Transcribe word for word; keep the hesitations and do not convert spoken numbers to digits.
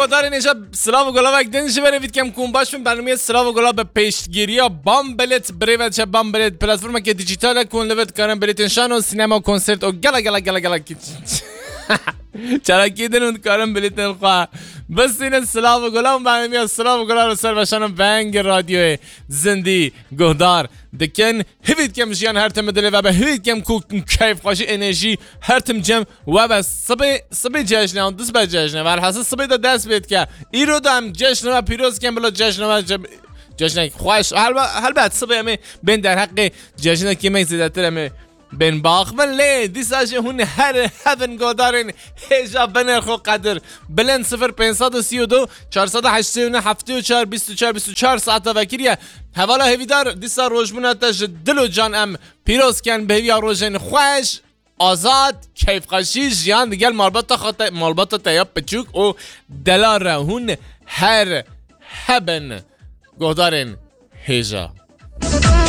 Guhdarên hêja, silav û gulavek din ji berê vî dikem ku hûn baş bin. Bernameyê Silav û Gulav bi pêşgiriya Bambelet bi rê ve diçe. Bambelet platformeke dîjîtal e ku hûn li vir dikarin bilêtên şano, sînema, konsert û gela gela gela gela çalakiyê din hûn dikarin bilêtên xwe bistînin. Silav û Gulav, bernameyê Silav û Gulav li ser Veşano Vengê Radyoyê Zindî guhdar dikin. Hivî dikem jiyan her tim dilê ve be. Hivî dikem ku keyfxweşî, enerjî her tim cem we be. Sibê, sibê cejne an, du sibe cejne. Velhasil sibê de dest pê dike. Îro de em cejne we pîroz dikin, bila cejne we ce-, cejnek xweş. Helbe-, helbet sibê em ê bên derheqê cejnekê me zêdetir em ê bên baxivin. Lê dîsa jî hûn her hebin guhdarên hêja binêr xwe qedir. Bilind sifir pênc sed û sî û du, çar sed û heştê û neh, heftê û çar, bîst û çar, bîst û çar saeta vekiriye. Hevala hêvîdar, dîsa rojbûna te ji dil û can em pîroz ken, bi hêviya rojên xweş, azad, keyfxweşî, jiyan digel malbata xwe te, malbata te ya piçûk û delal re hûn her hebin guhdarên hêja.